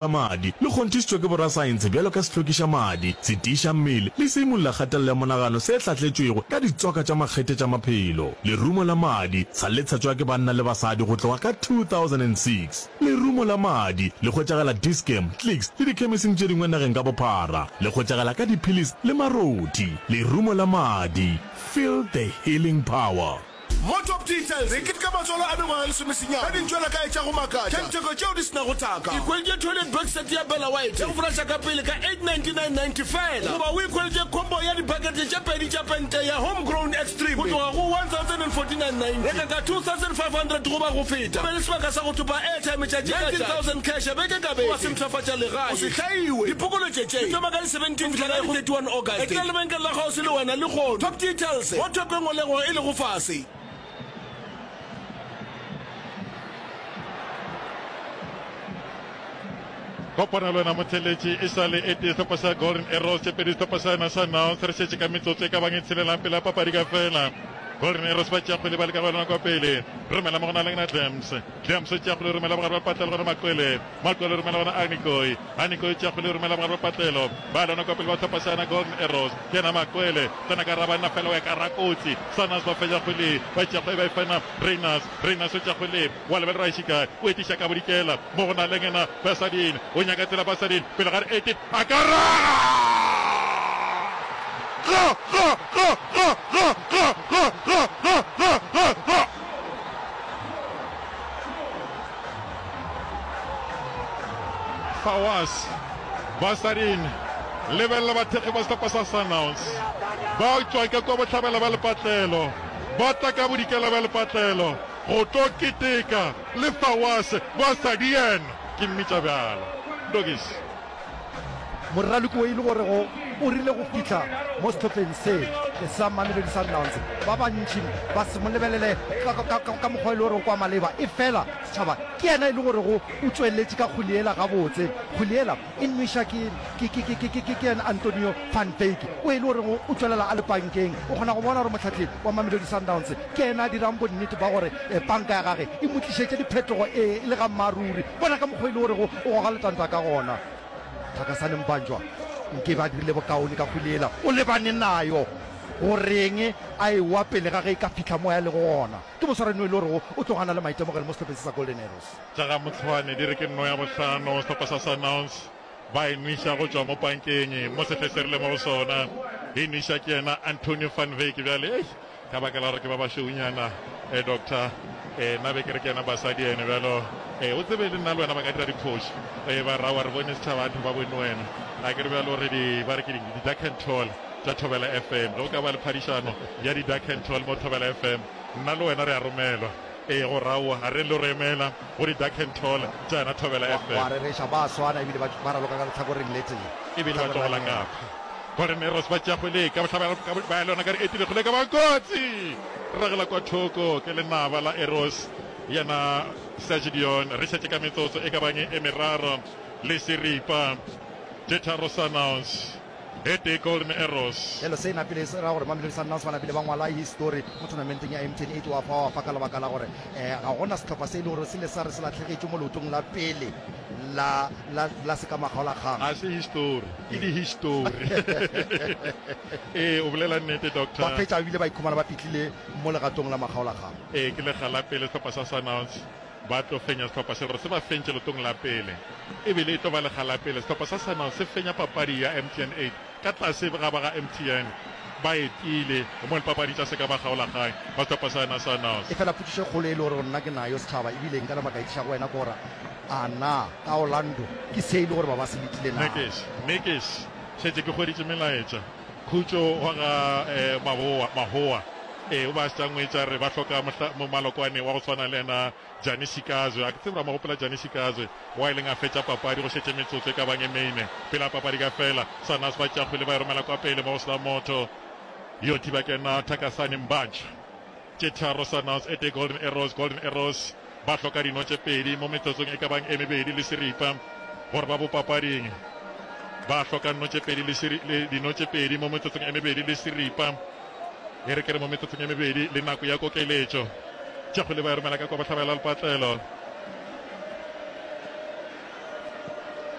La madi le kgonthišitšwe ke borasaense bjalo ka sehlokiša madi, setiiša mmele le seimolla kgatelelo ya monagano se hlahletšwego ka ditswaka tša makgethe tša maphelo. Lerumo la madi sa le tshatšwa ke banna le basadi go tloga ka 2006. Lerumo la madi le hwetšagala Dis-Chem, Clicks le dikhemising tše dingwe nageng ka bophara. Le hwetšagala ka diphilisi le marothi. Lerumo la madi, feel the healing power. Mo Top Details, re keteka matswalo a mengwaga e lesomesenyane ka dintšwela-kae tša go makatša tša ditheko tšeo di se nago thaka. Ikhweletše toilet break set ya Bella White ya go folaša ka pele ka R899.90 feela, goba o ikhweletše combo ya dipakete tše pedi tša pente ya Home Grown Extreme go tloga go R1049.90. Reka ka R2500 goba go feta, o be le sebaka sa go thopa airtime tšatši ka tšatši, R19,000 cash beke ka beke goba se mpshafatša legae. O se hlaiwe! Dipokoletšo tše di thoma ka di 17 go fihla ka di 31 August. Etela lebenkele la kgauswi le wena lehono. Top Details, Mo theko e nngwe le e nngwe e lego fase. Kopana le wena motheletši e sa le e tee sehlopha sa Golden Arrows tše pedi sehlopha sa yona sa Nouns re šetše ka metsotso e ka bang e tshelelang pele ga papadi ka fela. Golden Arrows ba tšea kgwele ba leka go yona kwa pele romela mo go na le ngena Dlams Dlams o tšea kgwele romela bogare ba patlelo gona Makwele Makwele romela gona Anikoi Anikoi tšea kgwele romela bogare ba patlelo ba lona kwa pele ba sehlopha sa yona Golden Arrows Ke yena Makwele, tsena ka rabanna fela o ya ka rakotsi. Sundowns ba fetša kgwele, ba tšea kgwele ba e fena Rayners. Rayners o tšea kgwele, wa lebelela ra šika, o etiša ka bodikela mo go na le yena Basadien. O nyaka tsela Basadien, pele ga re 18, a ka raga! Ga! Ga! Ga! Ga! Ga! Ga! Ga! Ga! Ga! Ga! Ga! Ga! Fawaz Basadien, lebelela bathekgi ba sehlopha sa Sundowns ba tšwa ka kua bohlabela bja lepatlelo, ba tla ka bodikela bja lepatlelo go tlo keteka le Fawaz Basadien. Ke mmitša bjalo. Doggies. Moraloki o e le gorego o rile go fihla mo sehlopheng se sa Mamelodi Sundowns, ba bantši ba se mo lebelele ka mokgwa e le gorego kwa maleba, efela setšhaba ke yena e le gorego o tšweletše ka kgwele yela gabotse. Kgwele yela e nweša ke, ke, ke, ke, ke, ke, ke yena Antonio van Wyk o e le gorego o tšwelela a le pankeng. O kgona go bona gore mohlahli wa Mamelodi Sundowns ke yena a dirang bonnete ba gore panka ya gage e mo tlišetše diphetogo e le ga mmaruri. Bona ka mokgwa e le gorego o goga letanta ka gona. Thakasane Mbanjwa nke be a dirile bokaone ka kgwele yela. O lebane nayo. Go reng a ewa pele ga ge e ka fihla mo a lego gona? Ke moswarani o e le gorego o tloga a na le maitemogelo mo sehlopheng se sa Golden Arrows. Tša ga Mohlwane di re ke nno ya bohlano, sehlopha sa Sundowns ba e nweša go tšwa mo pankeng mo sehle se re le mo go sona. E nweša ke yena Antonio van Wyk bjale. Eish, Ka baka la gore ke ba bašweunyana, eh, doctor, eh, nna be ke re ke yena basadi ene bjalo, eh, o tsebe le nna le wena ba ka dira diphošo, eh, ba ra wa re bone setšhaba batho ba bone wena, a ke re bjalo re di, ba re ke di, di dark and tall tša Thobela FM, ge o ka ba le phadišano ya di dark and tall mo Thobela FM, nna le wena re a romelwa, eh, go raowa, a re lo re emela go di dark and tall tša yona Thobela FM. Wa rereša, ba swana ebile ba, ba raloka ka lehlakoreng le tee. Ebile ba tlogola kapa. Golden Arrows ba tšea kgwele ka bohlabela ba ya le yona ka re etile kgwele ka ba kotsi ragela kwa thoko ke lenaba la Arrows yena Serge Dion re šetše ka metsotso e ka bang e meraro le seripa tše tharo Sundowns e tee Golden Arrows. Bjalo se napile se ra gore Mamelodi Sundowns ba napile ba ngwala histori mo tournamenteng ya MTN 8 wa fa wa fa ka lebaka la gore um ga gona sehlopha se e le gore se le sa re se lahlegetšwe mo leotong la pele la la, la sekamakgaolakgang. Ga se histori, ke dihistori. Ee, o bolela nnete, Doctor. Ba fetša ebile ba ikhumana ba fihlile mo legatong la makgaolakgang. Ee, ke lekga la pele sehlopha sa Sundowns ba tlo fenya sehlopha se gore se ba fentše lotong la pele. Ebile e tlo ba lekga la pele sehlopha sa Sundowns se fenya papadi ya MTN 8 Ka tlase ga ba ga MTN ba etile mo dipapadi tša sekamakgaolakgang ba sehlopha sa yona sa Nors. Efela potšišo e kgolo e le gore nna ke nayo setšhaba ebile nka nama ka e tliša go wena ke gore a na ka Orlando ke se e le gore ba ba se letile na? Nekes, Nekes, šetše ke hweditše melaetša. Khutšo wa ga Maboa, Mahoa, ee, o ba a šetše a ngwetša re ba hloka mohla, momalokwane wa go swana le yena Jani Sikazwe, a ke tsebe ra mo gopola Jani Sikazwe, wa e leng a fetša papadi go šetše metsotso e ka bang e mene pele a papadi ka fela. Sundowns ba tšea kgwele ba e romela kwa pele mo go sena motho yo thiba kena Thakasani Mbantšha. Tše tharo Sundowns e tee Golden Arrows, Golden Arrows ba hloka dino tše pedi mo metsotsong e ka bang e mebedi le seripa gore ba bo papading. Ba hloka nno tše pedi le dino tše pedi mo metsotsong e mebedi le seripa. E re ke re mo metsotsong e mebedi le nako ya kokeletšo. Tša kgwele ba e romela ka kwa bohlabela lepatlelo.